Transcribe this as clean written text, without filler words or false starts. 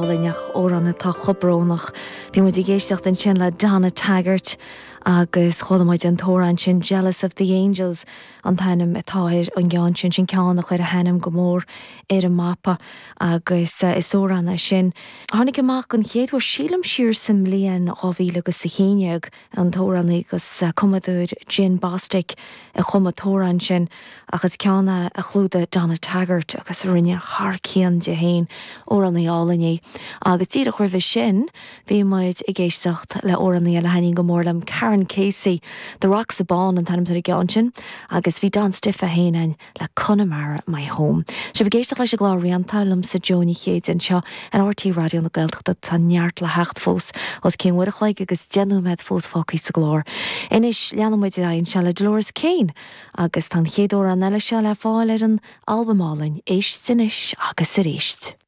álainn ach amhrán atá chomh brónach. Bhí muid ag éisteacht ansin le Donna Taggart agus chuala muid an t-amhrán sin Jealous of the Angels an t-ainm atá ar an gceann sin, sin ceann a chuir a hainm go mór ar an mapa agus is amhrán é sin a tháinig amach an chéad uair sílim siar sa mbliain 2000 agus a 11. an t-amhránaí agus cumadóir Jim Bostic a chum an t-amhrán sin ach is ceann é a chlúdaigh Donna Taggart agus a rinne thar cionn di féin. Amhránaí álainn í. Agus díreach roimhe sin bhí muid ag éisteacht le amhránaí eile a thaitníonn go mór liom, Karan Casey, The Rocks Abán an t-ainm atá ar an gceann sin agus bhí Don Stiffe féin ann le Connemara My Home. Sibh ag éisteacht leis an gclár Rianta liomsa Joe Ní Chéide anseo ar RTÉ Raidió na Gaeltachta. Tá neart le theacht fós, os cionn uair a chloig agus 10 nóiméad fós fágtha sa gclár. Anois leanfaidh muid ar aghaidh anseo le Dolores Keane agus tá an chéad amhrán eile seo le fáil ar an albam álainn Éist Anois agus Arís.